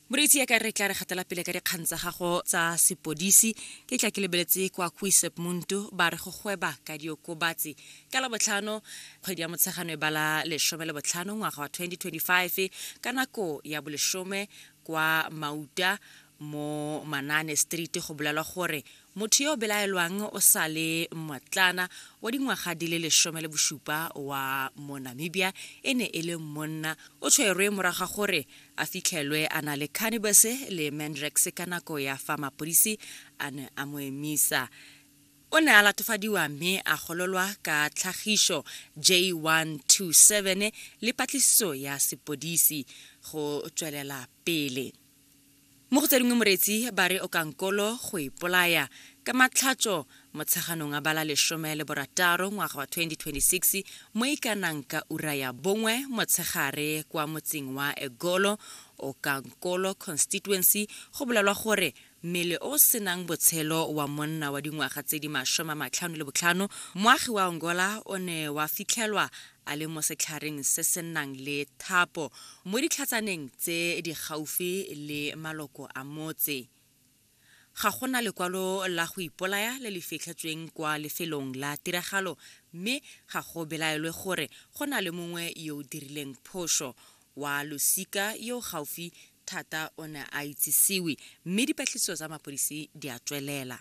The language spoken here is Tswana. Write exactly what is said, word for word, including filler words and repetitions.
Moreetsi, ya ka re tla re gatela pele ka dikgang tsa gago tsa sepodisi. Ke tla ke lebeletse kwa Kuisebmond, ba re go gweba ka diokobatsi ka Labotlhano, kgwedi ya Motshegano e bala lesome le botlhano, ngwaga wa twenty twenty-five, ka nako ya bolesome kwa Mauta mo Manane Street. Go bolelwa gore motho yo o belaelwang o sa le motlana wa dingwaga di le lesome le bosupa wa mo Namibia, e ne e le monna. O tshwerwe morago ga gore a fitlhelwe a na le cannabis le mandrax ka nako ya fa mapodisi a ne a mo emisa. O ne a latofadiwa mme a gololwa ka tlhagiso J one two seven le patlisiso ya sepodisi go tswelela pele. Mo go tse dingwe, moreetsi, ba re Okankolo go ipolaya ka Matlhatso, Motsheganong a bala lesome le borataro, ngwaga wa twenty twenty-six, mo e kanang ka ura ya bongwe motshegare kwa motseng wa Egolo, Okankolo constituency. Go bolelwa gore mmele o senang botshelo wa monna wa dingwaga tse di masome a matlhano le botlhano, moagi wa Angola, o ne wa fitlhelwa a le mo setlhareng se se nang le thapo mo ditlhatsaneng tse di gaufi le maloko a motse. Ga gona lekwalo la go ipolaya le le fitlhetsweng kwa lefelong la tiragalo, mme ga go belaelwe gore go na le mongwe yo o dirileng phoso. Wa losika yo gaufi thata o ne a itsisiwe, mme dipatlisiso tsa mapodisi di a tswelela.